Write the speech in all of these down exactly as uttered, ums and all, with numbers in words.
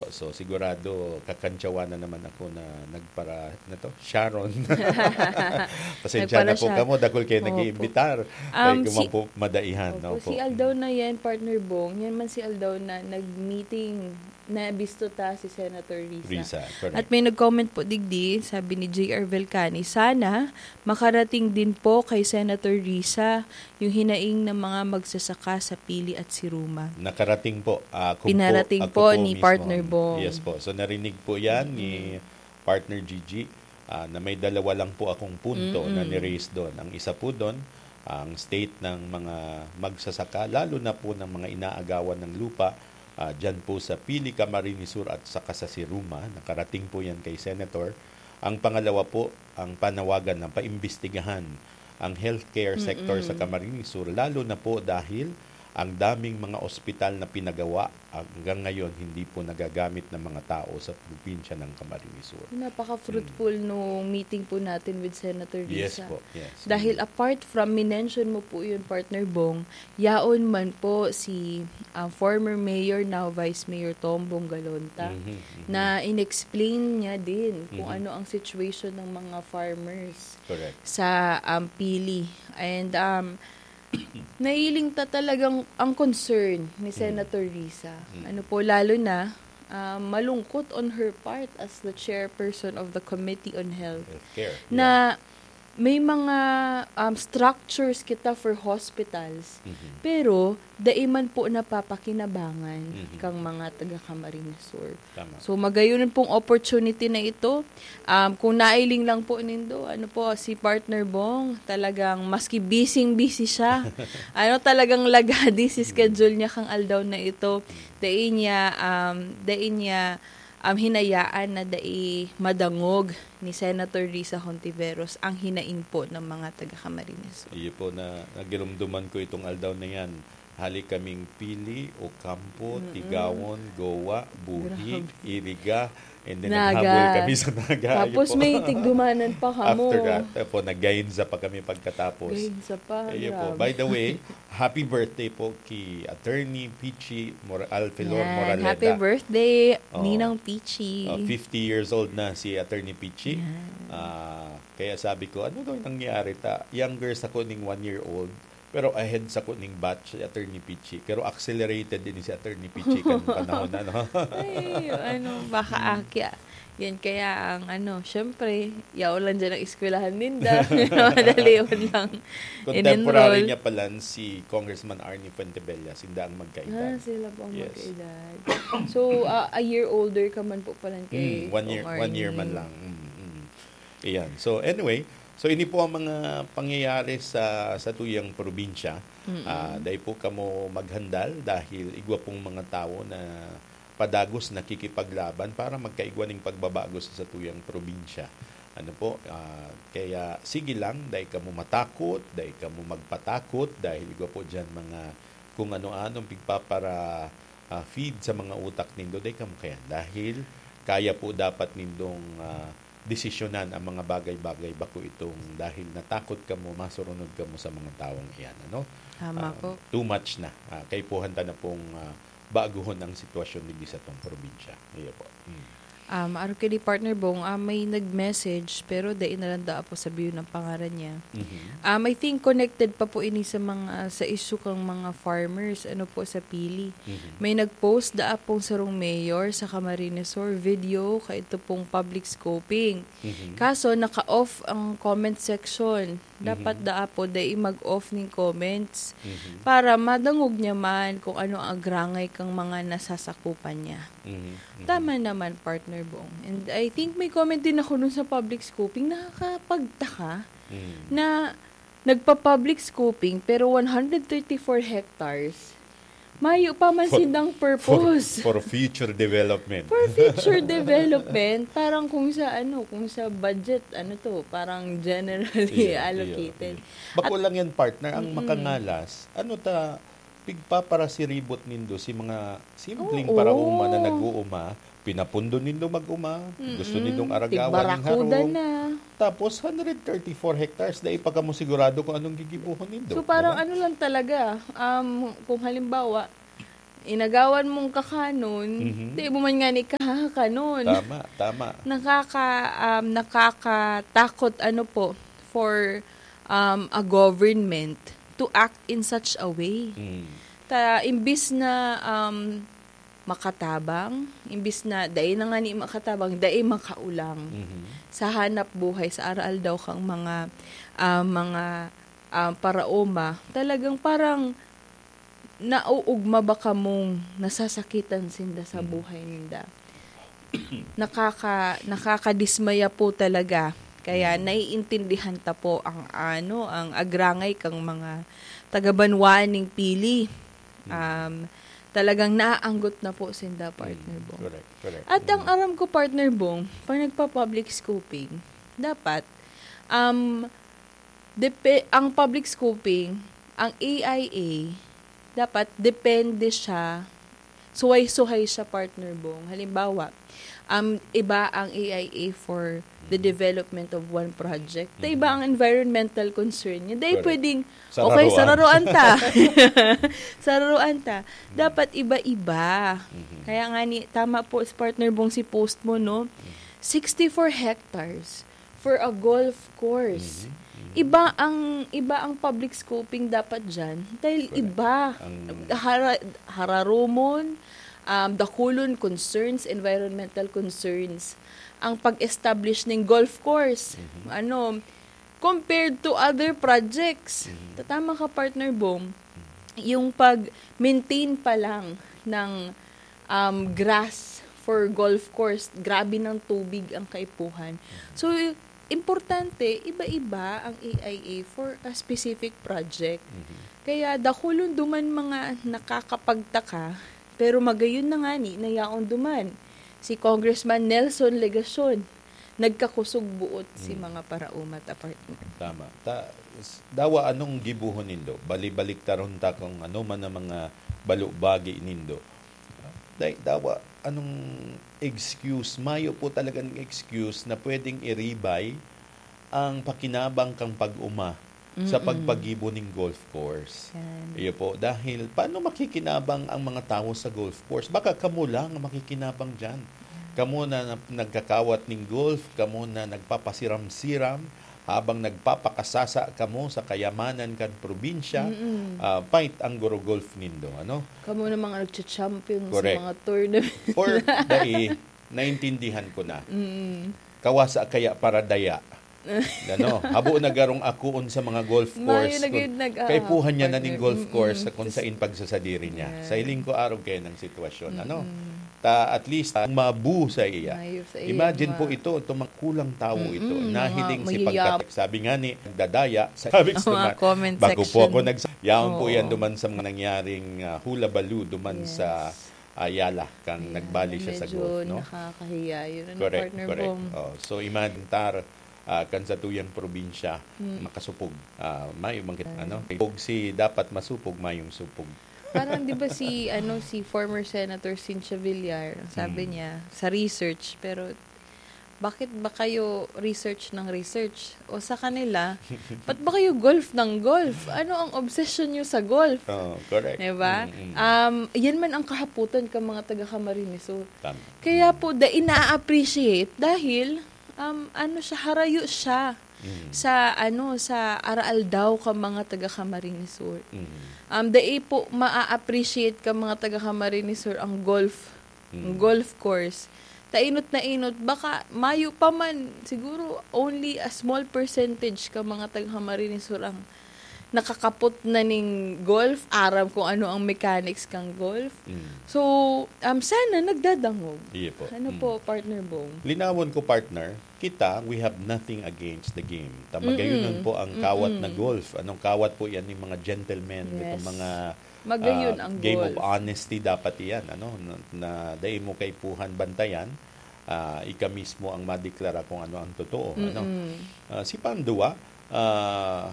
So, sigurado, kakantsawan na naman ako na nagpara-, ano to? Sharon. Pasensya na po Nagpara-Sharon. kamo, dakul kayo Opo. nag-iimbitar. Ay, Um, kung si man po madaihan, Opo, opo. si Aldaw na yan, Partner Bong. Yan man si Aldaw na nag-meeting, na bisto ta si Senator Risa. Risa, correct. At may nag-comment po digdi, sabi ni J R Velcani, "Sana makarating din po kay Senator Risa yung hinaing ng mga magsasaka sa Pili at Siruma." Nakarating po. Ah, ako po, Pinarating ako po po ni mismo. Partner Bong. Yes po. So, narinig po yan ni Mm. Partner Gigi, ah, na may dalawa lang po akong punto na Mm-mm. ni-raise doon. Ang isa po doon, ang state ng mga magsasaka, lalo na po ng mga inaagawan ng lupa, ah, dyan po sa Pili, Camarines Sur at saka sa Siruma. Nakarating po yan kay Senator. Ang pangalawa po, ang panawagan na paimbestigahan ang healthcare sector sa Mm-mm. Camarines Sur, lalo na po dahil ang daming mga ospital na pinagawa, hanggang ngayon hindi po nagagamit ng mga tao sa probinsya ng Camarines Sur. Napaka-fruitful Mm. nung meeting po natin with Senator Yes Risa. po, yes. Dahil Mm. apart from, minention mo po yun, Partner Bong, yaon man po si, ah, former mayor, now Vice Mayor Tom Bongalonta, Mhm, mhm. na in-explain niya din kung Mhm. ano ang situation ng mga farmers Correct. sa, um, Pili. And, um, nailing ta talagang ang concern ni Mm. Senator Risa. Mm. Ano po, lalo na, um, malungkot on her part as the chairperson of the Committee on Health Healthcare, na yeah. may mga, um, structures kita for hospitals, Mhm. pero dai man po napapakinabangan Mhm. kang mga taga Camarines Sur. Tama. So, magayon pong opportunity na ito. Um, kung nailing lang po nindo, ano po, si Partner Bong, talagang maski busy-busy siya, ano, talagang lagadi si Mm. schedule niya kang aldaw na ito. Dai niya, um, dai niya, um, hinayaan na dai madangog ni Senator Risa Hontiveros ang hinaing po ng mga taga Camarines Sur. Iyo po na nagirumduman ko itong aldaw na yan. Hali kaming Pili, Ocampo, Mm-mm. Tigawon, Goa, Buhi, Grabe. Iriga, and then Naga. naghabol kami sa Naga. Ayun Tapos po. may tigdumanan pa kamo. After that, eh, po, nag-Gainza pa kami pagkatapos. Gainza pa, Ayun po. grabe. By the way, happy birthday po kay Attorney Pichi Mor-, Alfelor Yan. Moraleda. Happy birthday, Oo. Ninang Pichi. Oh, fifty years old na si Attorney Pichi. Yan. Ah, kaya sabi ko, "Ano daw yung nangyari ta? Younger sa ko ning one year old." Pero ahead sa ko ning batch si Attorney Pichi. Pero accelerated din si Attorney Pichi kan panahon na, no? Ay, ano, baka Hmm. akya. Yan kaya ang ano, syempre, yaon lang dyan ang eskwelahan ninda. Madali yun lang Contemporary in-enroll. niya pala si Congressman Arnie Fuentebella, sinda ang magkaedad. Ah, sila po ang Yes. magkaedad. So, ah, a year older ka man po pala kay Mm, one year, Kong one year man Arnie. lang. Mm, mm. Ayan. So, anyway, so ini po ang mga pangyayari sa, sa tuyang probinsya. Mm-mm. Ah, dai po kamo maghandal dahil igwa pong mga tawo na padagos nakikipaglaban para magkaigwa ning pagbabago sa satuyang probinsya. Ano po, ah, kaya sige lang, dai kamo matakot, dai kamo magpatakot dahil igwa po diyan mga kung ano-anong pigpapara, ah, feed sa mga utak nindo, dai kamo kaya. Dahil kaya po dapat nindong, ah, desisyonan ang mga bagay-bagay, bako itong dahil natakot kamo, masurunod kamo sa mga tawong iyan, ano? Tama Ah, po. Too much na. Ah, kaipuhan ta na pong, ah, baguhon ang sitwasyon digdi sa atong probinsya. Iyo po. Mm. Um, arog kini, Partner Bong, ah, may nag-message, pero dai na lang daa po sabihon ang pangaran niya. Mhm. Um, I think connected pa po ini sa mga, sa issue kang mga farmers, ano po, sa Pili. Mhm. May nag-post daa pong sarong mayor sa Camarines Sur, video, kaidto pong public scoping. Mhm. Kaso, naka-off ang comment section. Dapat Mhm. daa po, dai mag-off ning comments Mhm. para madangog niya man kung ano ang agrangay kang mga nasasakupan niya. Mhm. Mhm. Tama naman, Partner Bong. And I think may comment din ako nun sa public scoping. Nakakapagtaka Mhm. na nagpa-public scoping pero one hundred thirty-four hectares, mayo pa man For, sindang for, purpose. for future development. For future development, parang kung sa ano, kung sa budget, ano to, parang generally Iyo, iyo, allocated. iyo. Bako At lang yan, partner, ang Mm-mm. makangalas, ano ta, pigpaparasiribot nindo si mga simpleng Oo. paraoma na nag-uuma, pinapundo nindo mag-uma, gusto Mm-mm. nindong aragawan ning Tigbarakuda harong. na. Tapos, hundred thirty-four hectares, dai pa kamo sigurado kung anong gigibohon nindo, So, parang di ba? ano lang talaga, um, kung halimbawa, inagawan mong kakanon, Mhm. di mo man nga ni kahakanon. Tama, tama. Nakaka-, um, nakakatakot, ano po, for, um, a government to act in such a way. Mm. Ta, imbis na, um, makatabang, imbis na dai na nga ni makatabang, dai makaulang Mhm. sa hanap buhay, sa aroaldaw kang mga, ah, mga, ah, paraoma, talagang parang nauugma ba kamong nasasakitan sinda sa Mhm. buhay ninda? Nakaka-, nakakadismaya po talaga. Kaya Mhm. naiintindihan ta po ang, ano, ang agrangay kang mga taga-banwaan ning Pili. Mm. Um, talagang naaanggot na po sinda, Partner Mm, Bong. Correct, correct. At ang Mm. aram ko, Partner Bong, pag nagpa-public scoping, dapat, um, depe-, ang public scoping, ang A I A, dapat depende siya, suhay-suhay siya, Partner Bong. Halimbawa, um, iba ang A I A for the development of one project. Ta iba Mhm. ang environmental concern niya. Dahil Correct. pwedeng, okay, Sararoan. sararoan ta. Sararoan ta. Mhm. Dapat iba-iba. Mhm. Kaya nga ni, tama po si Partner Bong si post mo, no? Mhm. Sixty-four hectares for a golf course. Mhm. Mhm. Iba ang, iba ang public scoping dapat dyan. Dahil Correct. iba. Ang Hara-, hararumon, um, dakulon concerns, environmental concerns, ang pag-establish ng golf course. Mhm. Ano, compared to other projects. Mhm. Tatama ka, Partner Bong, Mhm. yung pag-maintain pa lang ng, um, grass for golf course, grabe ng tubig ang kaipuhan. Mhm. So, importante, iba-iba ang A I A for a specific project. Mhm. Kaya dakulon duman mga nakakapagtaka, pero magayon na ngani na yaon duman si Congressman Nelson Legacion, nagkakusog buot si Mm. mga paraoma ta, partner. Tama. Ta-, s-, dawa anong gibohon nindo? Bali-baliktaron ta kung ano man ang mga balubagi nindo. Dai-, dawa anong excuse? Mayo po talagang excuse na pwedeng iribay ang pakinabang kang pag-oma sa Mm-mm. pagpagibo ning golf course. Yan. Iyo po, dahil paano makikinabang ang mga tawo sa golf course? Baka kamo lang ang makikinabang diyan. Kamo na, na nagkakawat ning golf, kamo na nagpapasiram-siram, habang nagpapakasasa kamo sa kayamanan kan probinsya, Mm-mm. ah, fight ang guro golf nindo, ano? Kamo na mga nagcha-champion sa Correct. mga tournament. For dai, naintindihan ko na. Mm. Kawasa kaya para daya. Ano, habo na garong akoon sa mga golf Mayo course. na gid Kung nag-, ah, kaipuhan niya na ning partner. golf course Mm-mm. sa kung sain pagsasadiri niya. Yan. Sa hiling ko, arog kaya ng sitwasyon, ano? Mm-mm. Ta, at least, ang mabu sa iya. Mayo sa iya, Imagine ma- po ito, itong mga kulang tawo ito. Mm-mm, Nahiling mga si mayayap. pagkat-, sabi nga ni, nagdadaya sa sabi Ang mga naman, comment bago po section. ako nags-, yaon po Oo. yan duman sa mga nangyaring, ah, hula-balo duman Yes. sa Ayala, kang Ayan, nagbali siya sa medyo golf, no? nakakahiya yun, ano, Correct, partner correct. Bong? Oh, so, imagine tar, ah, kan sa tuyang probinsya, Mm. makasupog. Ah, may mga, Ayan. ano, pag si dapat masupog, mayong supog. Parang, di ba, si, ano, si former Senator Cynthia Villar, ang sabi Mm. niya, sa research, pero bakit ba kayo research ng research? O sa kanila, ba't ba kayo golf ng golf? Ano ang obsession nyo sa golf? Oo, correct. Di ba? Mm, mm. Um, yan man ang kahaputan ka mga taga Camarines Sur. Tama. Kaya po, da, ina-appreciate dahil, um, ano siya, harayo siya Mm. sa, ano, sa araaldaw ka mga taga Camarines Sur. Mm. Um, dai po ma-appreciate ka mga taga Camarines Sur ang golf, ang Mm. golf course. Ta inot na inot, baka mayo pa man, siguro only a small percentage ka mga taga Camarines Sur ang nakakapot na ning golf, aram kung ano ang mechanics kang golf. Mm. So, um, sana nagdadangog. Iyo po. Ano Mm. po, partner Bong? Linawon ko, partner, kita, we have nothing against the game. Ta, Mm-mm. magayunon po ang kawat na Mm-mm. golf. Anong kawat po yan, yung mga gentlemen, Yes. itong mga, Magayon ah, ang game of golf. honesty dapat iyan, ano, na, na dai mo kaipuhan bantayan, ah, ika mismo ang madeklara kung ano ang totoo, ano. Mm-mm. Ah, si Pandua, ah,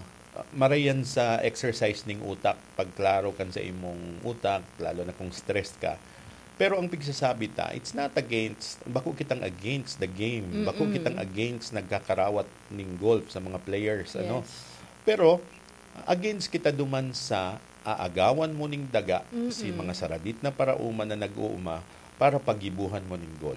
marayan sa exercise ning utak, pagklaro kan sa imong utak, lalo na kung stressed ka. Pero ang pigsasabi ta, it's not against, bako kitang against the game, bako Mm-mm. kitang against nagkakarawat ning golf sa mga players, ano. Yes. Pero, against kita duman sa aagawan mo ning daga si Mm-mm. mga saradit na paraoma na nag-uuma para pagibuhan mo ning golf.